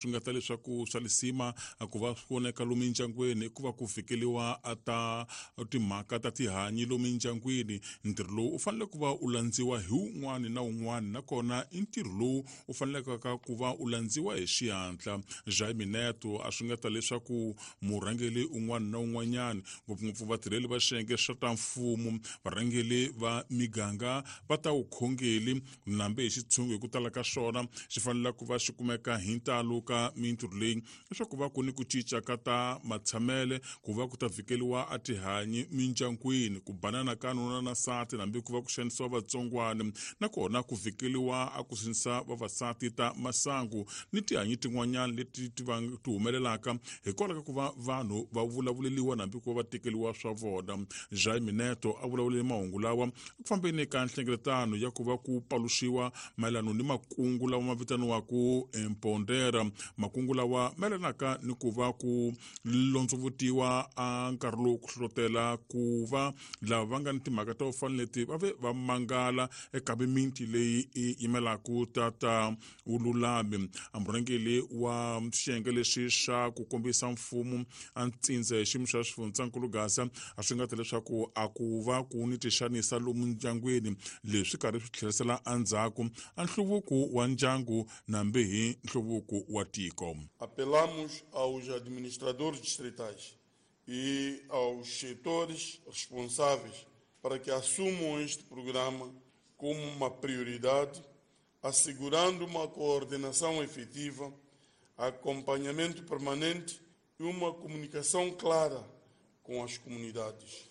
Swi nga ta leswaku swa lisima ku va swi voneka lomu mindyangwini i ku va ku fikeliwa a ta timhaka ta tihanyi lomu mindyangwini. Ntirho lowu u fanele ku va u landziwa hi wun'wani na wun'wani, nakona i ntirho lowu u fanelekaka ku va u landziwa hi xihatla. Jaime Neto a swi nga ta leswaku murhangeri un'wana na un'wanyana, ngopfungopfu vatirheli va xiyenge xa ta mfumo, varhangeri va miganga va ta vukhongeri nambe hi xitshungu hi ku tala ka swona xi fanele ku va xi kumeka hi ntalo ka mintirho leyi, leswaku va ku ni ku cinca ka ta matshamele, ku va ku ta vhikeliwa a tihanyi mindyangwini, ku banana ka nuna na nsati, hambi ku va ku xanisiwa vatsongwana, nakona ku vhikeliwa a ku sindzisa vavasati ta masangu ni tihanyi tin'wanyana leti ti va ti humelelaka hikwalaho ka ku va vanhu va vulavuleliwa hambi ku va va tekeliwa swa vona. Jaime Neto a vulavulele mahungu lawa eku fambeni ka nhlengeletano ya ku va ku paluxiwa mayelano ni makungu lawa ma vitaniwaka Empondera, makungu lawa mayelanaka ni ku va ku londzovutiwa a nkarhi lowu ku hlohlotela ku va lava va nga ni timhaka to fana leti va ve va mangala eka mimiti leyi yi yimelaka tata vululami. A murhangeri wa xiyenge lexi xa ku kombisa mfumo a ntsindza hi xiyimo xa xifundzankulu Gaza a swi nga ta leswaku a ku va ku ni tixanisa lomu ndyangwini, leswi karhi swi tlherisela endzhaku a nhluvuko wa ndyangu nambi hi nhluvuko wa tiko. Apelamos aos administradores distritais e aos setores responsáveis para que assumam este programa como uma prioridade, assegurando uma coordenação efetiva, acompanhamento permanente e uma comunicação clara com as comunidades.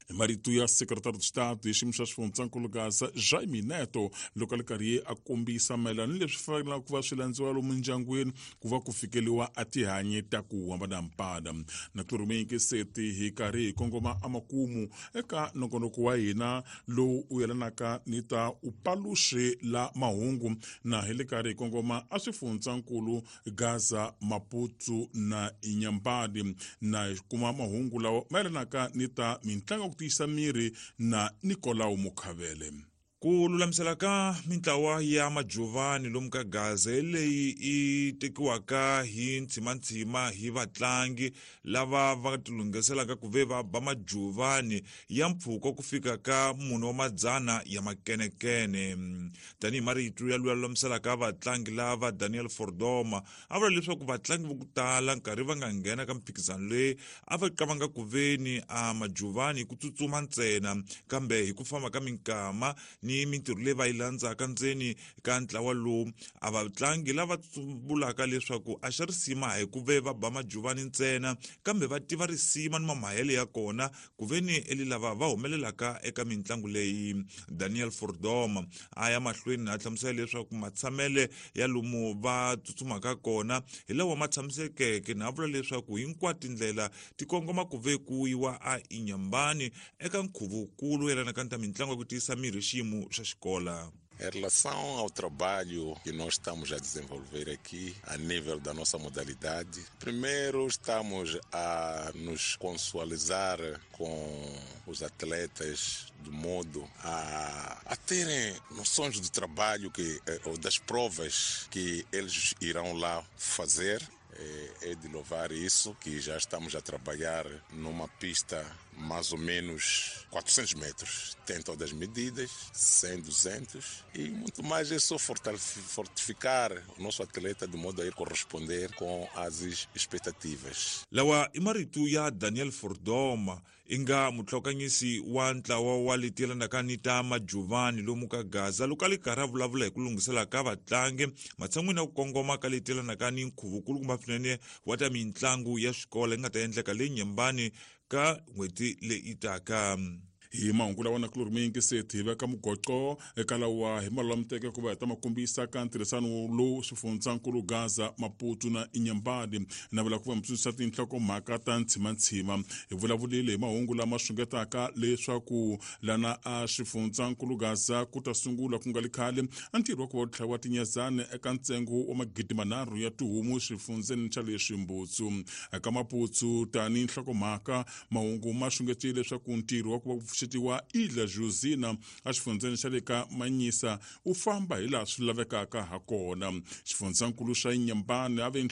Hi marito ya Secretary de Estado hi xiyimo xa xifundzankulu Gaza Jaime Neto loko a li karhi a kombisa mayelana ni leswi fanelaka ku va swi landziwa lomu ndyangwini ku va ku fikeliwa a tihanyi ta ku hambanahambana. Na tlurumiki seti hi karhi hi kongoma emakumu eka nongonoko wa hina lowu u yelanaka ni ta upaluxi la mahungu, na hi le karhi hi kongoma a swifundzankulu Gaza, Maputo na Inhambane, na hi kuma mahungu lawa ma yelanaka ni ta mintlangu ya ku tiyisa miri na Nicolau Mukhavele. Ku lulamisela ka mintlawa ya majuvani lomu ka Gaza hi leyi i tekiwaka hi ntshimantshima hi vatlangi lava va tilunghiselaka ku ve va ba majuvani ya mpfhuka ku fika ka mune wa madzana ya makenekene. Tanihi marito ya luya lulamiselaka vatlangi lava Daniel Fordoma a vula leswaku vatlangi vo ku tala nkarhi va nga nghena ka mphikizano leyi a va qavanga ku veni a majuvani hi ku tsutsuma ntsena, kambe hi ku famba ka minkama ni mintirho leyi va yi landzaka ndzeni ka ntlawa lowu a vatlangi lava vulaka leswaku a xa risima hi ku ve va ba majuvani ntsena, kambe va tiva risima ni mamahele ya kona ku ve ni eli lava va humelelaka eka mintlangu leyi. Daniel Fordoma a ya mahlweni a hlamusela leswaku matshamele ya lomu va tsutsumaka kona hi lawa ma tshamisekeke, na vula leswaku hinkwato tindlela ti kongoma ku ve ku yiwa a Inhambane eka nkhuvo-wukulu yelanaka ni ta mitlangu ya ku tiyisa mirhi xiyimo xa xikola. Em relação ao trabalho que nós estamos a desenvolver aqui a nível da nossa modalidade, primeiro estamos a nos consualizar com os atletas de modo a terem noções do trabalho que, ou das provas que eles irão lá fazer. É de louvar isso, que já estamos a trabalhar numa pista mais ou menos 400 metros. Tem todas as medidas, 100, 200 e muito mais. É só fortificar o nosso atleta de modo a ir corresponder com as expectativas. Lawa i marito ya Daniel Fordoma i nga muhlokanyisi wa ntlawa wa leti yelanaka ni ta majuvani lomu ka Gaza loko a li karhi a vulavula hi ku lunghisela ka vatlangi matshan'wini ya ku kongoma ka leti yelanaka ni nkhuvo kumba swinene wa ta mitlangu ya xikolo yi nga ta endleka le Nyembani ka n'hweti leyi taka. Hi mahungu lawa na kulori mingi se hi veka mugoqo eka lawa hi malulamuteke ku va hi ta ma kombisa ka ntirhisano lowu swifundzankulu Gaza, Maputo na Inhambane. Na vula ku va mi tsundzuxa tinhlokomhaka ta ntshimantshima. Hi vulavulile hi mahungu lama xungetaka leswaku lana a xifundzankulu Gaza ku ta sungula ku nga li khale a ntirho wa ku va tlhaviwa tinyezani eka ntsengo wa 3000 ya tihomu xifundzeni xa le Ximbutsu. Eka Maputo tani nhlokomhaka mahungu ma xungetile leswaku ntirho wa ku va ku pfuxeta pfuxetiwa Ilha Josina exifundzheni xa le ka Manyisa u famba hi laha swi lavekaka ha kona. Xifundzankulu xa Inhambane a ve